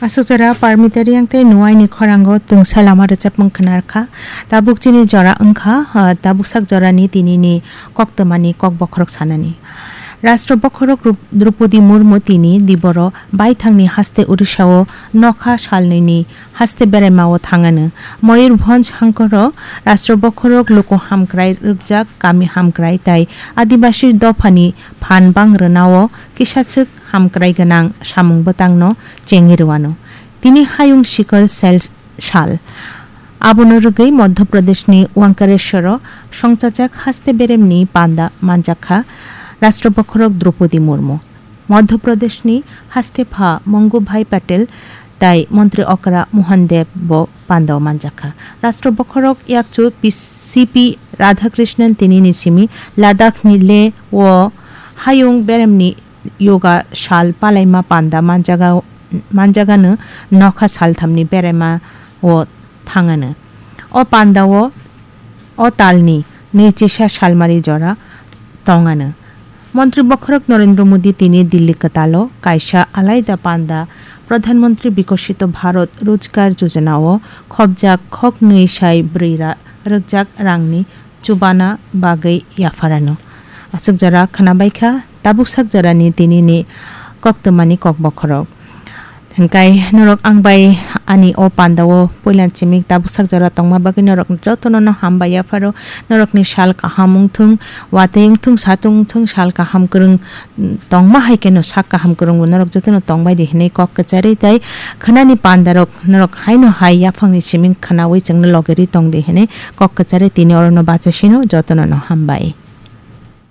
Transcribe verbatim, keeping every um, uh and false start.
Aswk jora Parmita Reang tei Nuaini khorango tungsa lama rwchapmung khwnarkha. Tabuk chini jora wngkha, ah, tabuksak jorani tinini koktwmani kok bokhorok sanani. Rashtra bokhorok Rup-, Droupadi Murmu tini diboro baithangni haste Odisha-o nokha salnwini haste beraima-o thangano. Mayurbhanj hangkoro Rashtra bokhorok luku hamkrai rwkjak, kami hamkrai tai Adibasi dophani phan bang rwnao kisaswk hamkrai gwnang samung bwtangno chengwi rwano. Tini hayung sikol sel sal. Abono rwgwi Madhya Pradeshni Wankareshwaro songchajak haste beremni panda manjakha Rashtra bokhorok Droupadi Murmu. Madhya Pradeshni haste pha Mongubhai Patel tai Montri Okra Mohan Deb bo pandao manjakha. Rashtra bokhorok yakchu P-, C P Radhakrishnan tinini simi Ladakhni Leh o hayung beremni yoga sal palaima panda manjaga, manjagano nokha salthamni beraima o thangano. O pandao o talni nwichisa salmari jora tongano. Montri bokhorok Narendra Modi tini Delhi kwtalo kaisa alaida panda Pradhan Mantri Bikoshito Bharat Rojgar Yojana o khopjak khoknwi sai bwrwi ra-, rwkjak rangni chubana bagwi yapharano. Aswk jora khwnabaikha tabuksak jorani tinini koktwmani kok bokhorok. Hingkai norok ang bai ani o pandao puilan chimik tabuksak jora tongma bagwi norok jotono no hambai yapharo. Norokni sal kaham wngthung, watwi wngthung, satung wngthung, sal kaham kwrwng, mm, tongma hai kheno sak kaham kwrwngbo norok jotono tongbai di hinwi kok kwcharwi tai khwnani pandarok norok haino hai yaphangni chimik khwnawi chwngno logerwi tong di hinwi kok kwcharwi tini orono bachasino jotono no hambai.